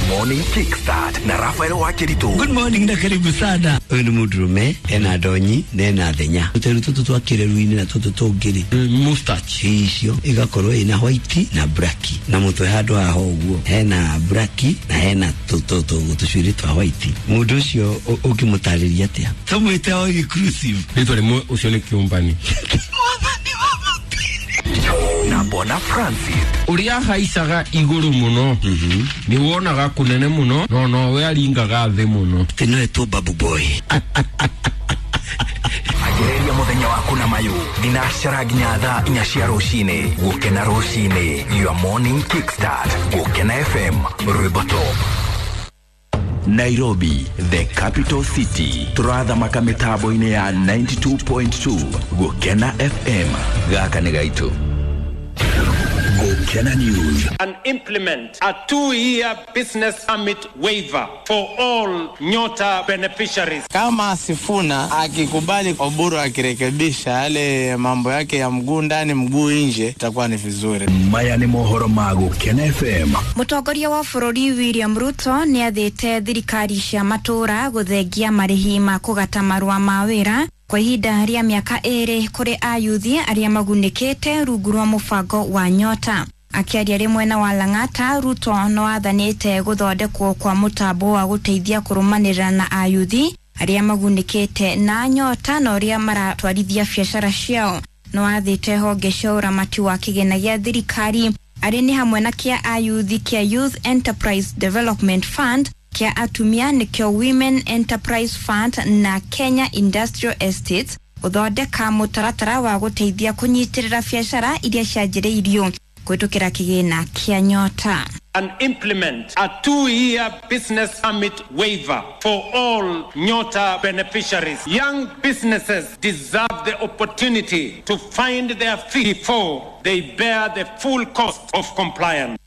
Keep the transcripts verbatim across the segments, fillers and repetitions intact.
Morning Kickstart na Rafael Wakiritu. Good morning na karibu sana. Uyu ni mundurume ena ndonyi na ena thenya. Tuteru tutu twa kireru-ini na tutu tungiri. Mustache. Icio igakorwo ina white na black. Na mutwe handu haho uguo hena black na hena tutu tucuiri twa white. Mundu ucio ukimutariria atia? Tumwite all inclusive. Ritwa rimwe ucio ni kiumbani. Na Bona Francis. Uria haicaga iguru muno. Mm-hmm. Ni wonaga kunene muno no no we aringaga thi muno. Tino tu babu boy. Agereria muthenya waku na mayu thinacara nginya thaa inya cia rucini. Gukena rucini, your morning kickstart. Gukena F M, rwimbo top. Nairobi, the capital city. Turathamaka mitambo-inĩ ya ninety-two point two Gukena F M. Gaka nĩ gaitu. Gukena News. And implement a two-year business permit waiver for all Nyota beneficiaries. Kama Sifuna akikubali Oburu akirekebisha yale mambo yake ya mguu ndani mguu nje, itakuwa ni vizuri. Maya ni mohoro ma Gukena F M. Mutongoria wa bũrũri William Ruto nĩ athĩte thirikari cia matũra gũthengia marĩhi ma kũgata marũa ma wĩra kwa ihinda rĩa mĩaka ĩrĩ kũrĩ ayuthi arĩa magunĩkĩte rungu rwa mũbango wa Nyota. Akĩaria rĩ mwena wa Lang'ata, Ruto no athanĩte gũthondekwo kwa mũtambo wa gũteithia kũrũmanĩrĩra na ayuthi arĩa magunĩkĩte na Nyota na ũrĩa maratwarithia biacara ciao. No athĩte honge cia ũramati wa kĩgĩna gĩa thirikari arĩ nĩ hamwe na kĩa ayuthi kĩa Youth Enterprise Development Fund, kĩa atumia nĩkĩo Women Enterprise Fund na Kenya Industrial Estates gũthondeka mũtaratara wa gũteithia kũnyitĩrĩra biacara iria cianjĩrĩirio kũhĩtũkĩra kĩgĩna kĩa Nyota. And implement a two-year business permit waiver for all Nyota beneficiaries. Young businesses deserve the opportunity to find their feet before they bear the full cost of compliance.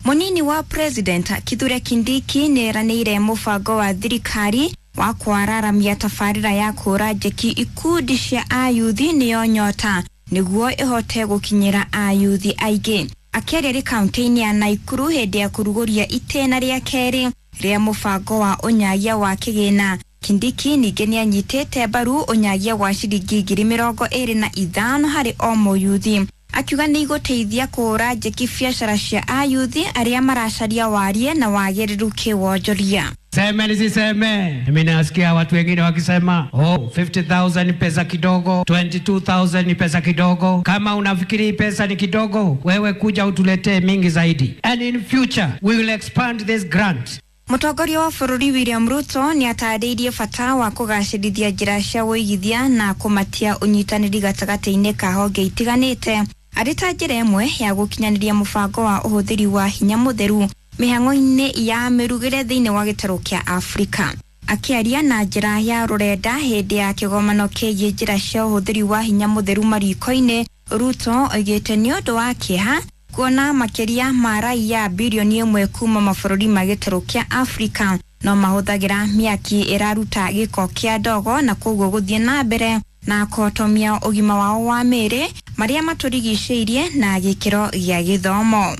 Munini wa President Kithure Kindiki nĩeranĩire mũbango wa thirikari wa kwararamia tabarĩra ya kũra njeki ikundi cia ayuthi nĩyo Nyota nĩguo ĩhote gũkinyĩra ayuthi aingĩ. Akĩaria rĩ kaunti-inĩ ya Naikuru hĩndĩ ya kũrugũria itĩna rĩa kerĩ rĩa mũbango wa ũnyagia wa kĩgĩna, Kindiki ningĩ nĩanyitĩte mbaru ũnyagia wa ciringi ngiri mĩrongo ĩrĩ na ithano harĩ o mũyuthi, akiuga nĩ igũteithia kũhũra njeki biacara cia ayuthi arĩa maracaria warie na wagĩrĩru kĩwonjoria. Seme nisiseme, mimi nasikia watu wengine wakisema oh, fifty thousand ni pesa kidogo, twenty-two thousand ni pesa kidogo. Kama unafikiri pesa ni kidogo, wewe kuja utuletee mingi zaidi. And in future we will expand this grant. Mũtongoria wa bũrũri William Ruto nĩ atarĩirie bata wa kũgacĩrithia njĩra cia ũigithia na kũmatia ũnyitanĩri gatagatĩ-inĩ ka honge itiganĩte arĩ ta njĩra ĩmwe ya gũkinyanĩria mũbango wa ũhũthĩri wa hinya mũtheru mĩhang'o-inĩ ya mĩrugĩre thĩinĩ wa gĩtarũ kĩa Afrika. Akĩaria na njĩra ya rũrenda hĩndĩ ya kĩgomano kĩgiĩ njĩra cia ũhũthĩri wa hinya mũtheru mariko-inĩ, Ruto oigĩte nĩ ũndũ wa kĩeha kuona makĩria ma raiya bilioni ĩmwe kuma mabũrũri ma gĩtarũ kĩa Afrika no mahũthagĩra mĩaki ĩraruta gĩko kĩa ndogo na koguo gũthiĩ na mbere na kũhotomia ũgima wao wa mĩĩrĩ marĩa matũrigicĩirie na gĩkĩro gĩa gĩthomo.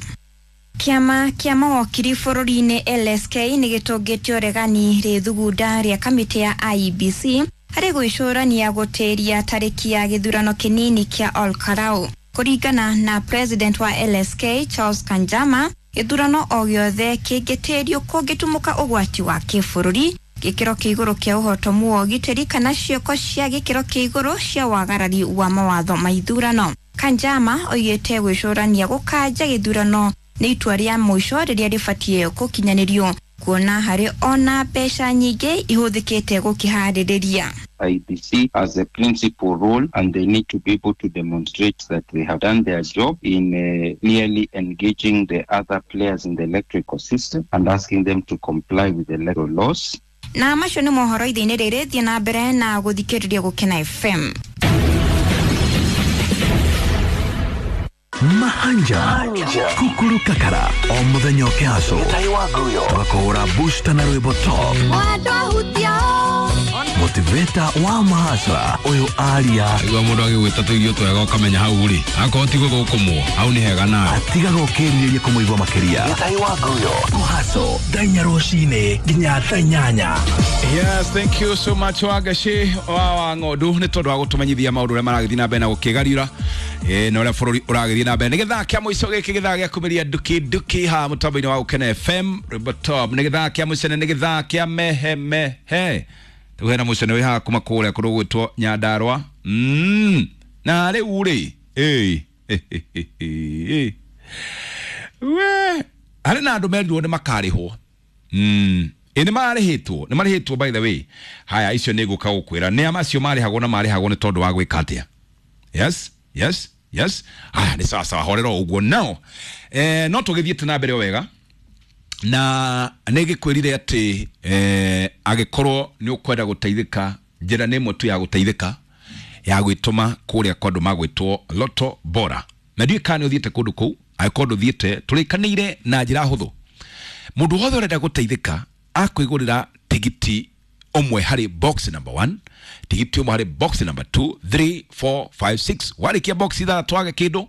Kĩama kĩa mawakiri bũrũri-inĩ L S K nĩ gĩtũngĩtio ũregani rĩthugunda rĩa kamĩtĩ ya I E B C harĩ gwĩcũrania gũtĩria tarĩki ya gĩthurano kĩnini kĩa Olkarau. Kũringana na president wa L S K Charles Kanjama, gĩthurano o gĩothe kĩngĩtĩrio kũngĩtumũka ũgwati wa kĩbũrũri, gĩkĩro kĩa igũrũ kĩa ũhotomu wa ũgitĩri kana ciĩko cia gĩkĩro kĩa igũrũ cia wagarari wa mawatho ma ithurano. Kanjama oigĩte gwĩcũrania gũkanja gĩthurano nĩ itua rĩa mũico rĩrĩa rĩbatiĩ gũkinyanĩrio kuona harĩ ona mbeca nyingĩ ihũthĩkĩte gũkĩharĩrĩria. I B C as a principal role, and they need to be able to demonstrate that they have done their job in uh, clearly engaging the other players in the electrical system and asking them to comply with the electoral laws. Na macio nĩ mohoro ithe-inĩ rĩrĩ, thiĩ na mbere na gũthikĩrĩria Gũkena F M. Mahanja Kukuru Kakara o muthenya ũkĩhaco tũgakũhũra booster na rwĩmbo top. Motivator wa mahasra ũyũ aria Igua mũndũ agĩgwĩta tũirio twega ũkamenya hau rĩ akorwo ti gũthũkũmwo hau nĩ hega nawe atigaga ũkĩrirĩria kũmũigua makĩria. Gĩtahi wa Nguyo Mũhaco thaa inya rũcinĩ nginya thaa inyanya. Yes, thank you so much Wagashi wa wa ng'ondu nĩ tondũ wa gũtũmenyithia maũndũ ũrĩa maragĩthiĩ na mbere na gũkĩgariũra eh, na ũrĩa bũrũri ũragĩthiĩ na mbere. Nĩ gĩthaa kĩa mũico gĩkĩ, gĩthaa gĩa kumĩria nduki nduki haha mũtambo-inĩ wa Gũkena F M Rwĩmbo Top. Nĩ gĩthaa kĩa mũcene, nĩ gĩthaa kĩa mehe mehe. Rĩu hena mũcene wĩ haha kuma kũrĩa kũndũ gwĩtwo Nyandarua. Mm. Na rĩu rĩ, ĩ, we harĩ na andũ merirwo nĩ makarĩhwo. Mm. Ĩ nĩ marĩhĩtwo, nĩ marĩhĩtwo by the way. Haya, icio nĩ ngũka gũkwĩra nĩ a macio marĩhagwo na marĩhagwo nĩ tondũ wa gwĩka atĩa. Yes, yes, yes. Haya, nĩ sawa sawa, horera o ũguo. Now, eh, no tũgĩthiĩte na mbere o wega na nĩ ngĩkwĩrire atĩ eh, angĩkorwo nĩ ũkwenda gũteithĩka, njĩra nĩ ĩmwe tu ya gũteithĩka ya gwĩtũma kũrĩa kwa andũ magwĩtwo Lotto Bora. Na ndiũĩ kana nĩ ũthiĩte kũndũ kũu, angĩkorwo ndũthiĩte, tũrĩkanĩire na njĩra hũthũ. Mũndũ wothe ũrenda gũteithĩka akwĩgũrĩra tigiti ũmwe harĩ box number one, tigiti ũmwe harĩ box number two, three, four, five, six. Warĩkia box ithathatũ wage kĩndũ,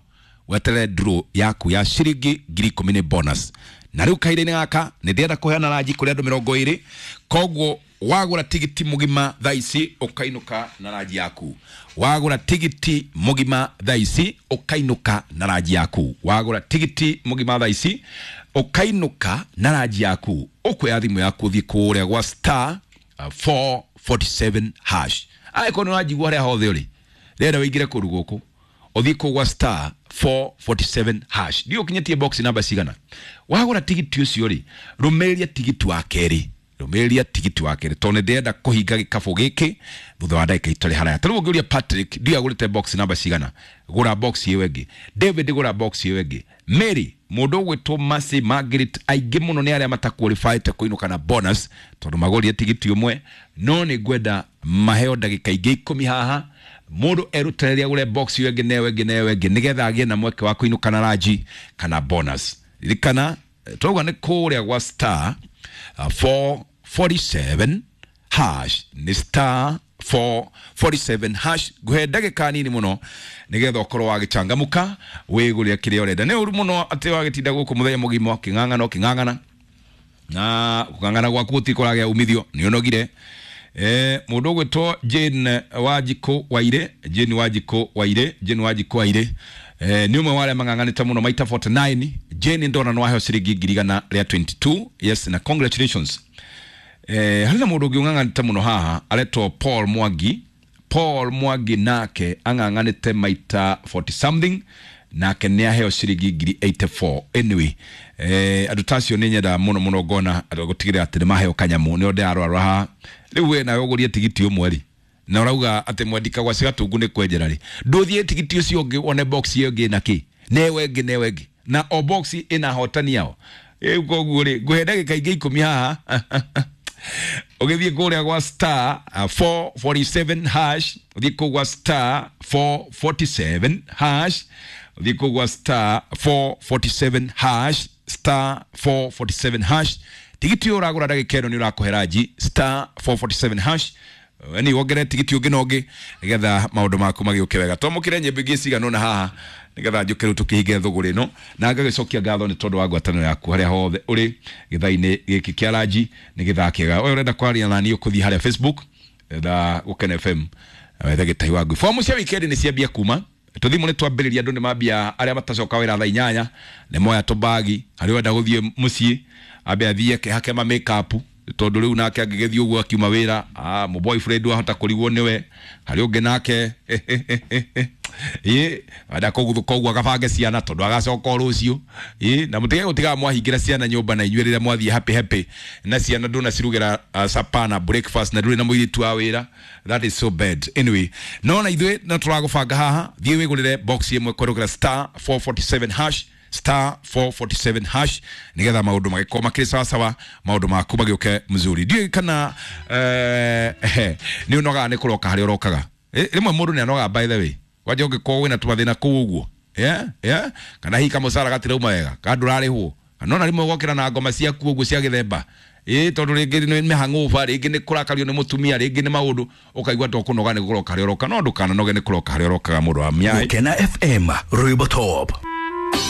weterere draw yaku ya ciringi ngiri ikũmi nĩ bonus. Na rĩu kahinda-inĩ gaka nĩ ndĩrenda kũheana ranji kũrĩ andũ mĩrongo ĩrĩ, koguo wagũra tigiti mũgima thaa ici ũkainũka na ranji yaku. Wagũra tigiti mũgima thaa ici ũkainũka na ranji yaku. Wagũra tigiti mũgima thaa ici ũkainũka na ranji yaku. Ũkuoya thimũ yaku ũthiĩ kũrĩa gwa star, uh, four forty-seven hash. Angĩkorwo nĩ ũranjigua harĩa hothe ũrĩ, rĩera ũingĩre kũndũ gũkũ ũthiĩ kũu gwa star four forty-seven hash. Ndiũĩ ũkinyĩtie box namba cigana. Wagũra tigiti ũcio rĩ, rũmĩrĩria tigiti wa kerĩ. Rũmĩrĩria tigiti wa kerĩ tondũ nĩ ndĩrenda kũhinga gĩkabũ gĩkĩ thutha wa ndagĩka itarĩ haraya. Ta rĩu ũngĩũria Patrick, ndiũĩ agũrĩte box namba cigana, gũra box ĩyo ĩngĩ. David, gũra box ĩyo ĩngĩ. Mary, mũndũ ũgwĩtwo Mercy Margaret, aingĩ mũno nĩ arĩa mataqualified kũinũka na bonus tondũ magũrire tigiti ũmwe, no nĩ ngwenda maheo ndagĩka ingĩ ikũmi haha mũndũ erutanĩria agũre box ĩyo ĩngĩ na ĩyo ĩngĩ na ĩyo ĩngĩ nĩgetha agĩe na mweke wa kũinũka na ranji kana bonus. Ririkana twauga nĩ kũrĩa gwa star, uh, four forty-seven hash, nĩ star four forty-seven hash. Ngũhe ndagĩka nini mũno nĩgetha ũkorwo wagĩcangamũka wĩgũrĩre kĩrĩa ũrenda. Nĩ ũru mũno atĩ wagĩtinda gũkũ mũthenya mũgima ũkĩng'ang'ana ũkĩng'ang'ana na kũng'ang'ana gwaku gũtirĩ kũragĩa umithio, nĩ ũnogire. Eh, mũndũ ũgwĩtwo Jane Wanjikũ Waire, Jane Wanjikũ Waire, Jane Wanjikũ Waire, eh, nĩ ũmwe wa arĩa mang'ang'anĩte mũno maita forty-nine. Jane ndona nĩ waheo ciringi ngiri igana rĩa twenty-two. Yes, na congratulations. Eh, harĩ na mũndũ ũngĩ ũng'ang'anĩte mũno haha aretwo Paul Mwangi. Paul Mwangi nake ang'ang'anĩte maita forty something, nake nĩ aheo ciringi ngiri eighty-four. Anyway, eh, andũ ta acio nĩ nyendaga mũno mũno ngona andũ gũtigĩrĩra atĩ nĩ maheo kanyamũ. Nĩo ndĩrarora haha rĩu we nawe ũgũrie tigiti ũmwe rĩ, na ũrauga atĩ mwendika gwa Cigatungu nĩ kwenjera rĩ, ndũthiĩ tigiti ũcio ũngĩ wone box ĩyo ĩngĩ na kĩ na ĩyo ĩngĩ na ĩyo ĩngĩ, na o box ĩna ahotani ao. Rĩu koguo rĩ, ngũhe ndagĩka ingĩ ikũmi haha ũgĩthiĩ kũrĩa gwa star, uh, four forty-seven hash, ũthiĩ kũu gwa star four forty-seven hash, ũthiĩ kũu gwa star four forty-seven hash, star four forty-seven hash. Tigiti ũyũ ũragũra ndagĩka ĩno nĩ ũrakũhe ranji star four forty-seven hash. Ni wongerere tigiti ũngĩ na ũngĩ nĩgetha maũndũ maku magĩũke wega. Twamũkĩre nyĩmbo ingĩ cigana ũna haha nĩgetha njũke rĩu tũkĩhinge thũgũrĩ ĩno, na ngagĩcokia ngatho nĩ tondũ wa ngwatanĩro yaku harĩa hothe ũrĩ gĩthaa-inĩ gĩkĩ kĩa ranji. Nĩ gĩthaa kĩega. Ũyũ ũrenda kwaria na niĩ ũkũthiĩ harĩa Facebook tha Gũkena F M wethe Gĩtahi wa Ngui. Fomu cia wikendi nĩ ciambia kuma tũthimũ nĩ twambĩrĩria, andũ nĩ mambia arĩa matacoka wĩra thaa inyanya nĩ moya tũbagi, harĩa ũrenda gũthiĩ mũciĩ ambe athiĩ akehake ma make-up tondũ rĩu nake angĩgĩthiĩ ũguo akiuma wĩra, ah, mũ boyfriend wahota kũrigwo nĩwe, harĩa ũngĩ nake ĩ enda kũguthũka ũguo agabange ciana tondũ agacoka o rũciũ. Ĩ na mũtige gũtigaga mwahingĩra ciana nyũmba na inyuĩ rĩrĩa mwathiĩ happy happy na ciana ndũnacirugĩra, uh, supper na breakfast na ndũrĩ na mũirĩtu wa wĩra. That is so bad. Anyway, no na ithuĩ no tũragũbanga haha, thiĩ wĩgũrĩre box ĩmwe kwerũkĩra star four forty-seven hash, star four forty-seven hash nigetha maũndũ magĩkorwo makĩrĩ sawa sawa, maũndũ maku magĩũke mzuri. Ndiũĩ kana, eh, nĩ ũnogaga nĩ kũroka harĩa ũrokaga. Eh, rĩmwe mũndũ nĩ anogaga by the way, kwanja ũngĩkorwo wĩna tũmathĩna kũu ũguo, yeah, yeah, kana hihi kamũcara gatirauma wega, kana ndũrarĩhwo, kana ona rĩmwe ũgokĩra na ngoma ciaku ũguo cia gĩthemba. Ĩ tondũ rĩngĩ nĩ mĩhang'ũba, rĩngĩ nĩ kũrakario nĩ mũtumia, rĩngĩ nĩ maũndũ, ũkaigua to kũnoga nĩ kũroka harĩa ũroka, no ndũkananoge nĩ kũroka harĩa ũrokaga mũndũ wa mĩaĩ. Gukena F M Rwimbo Top.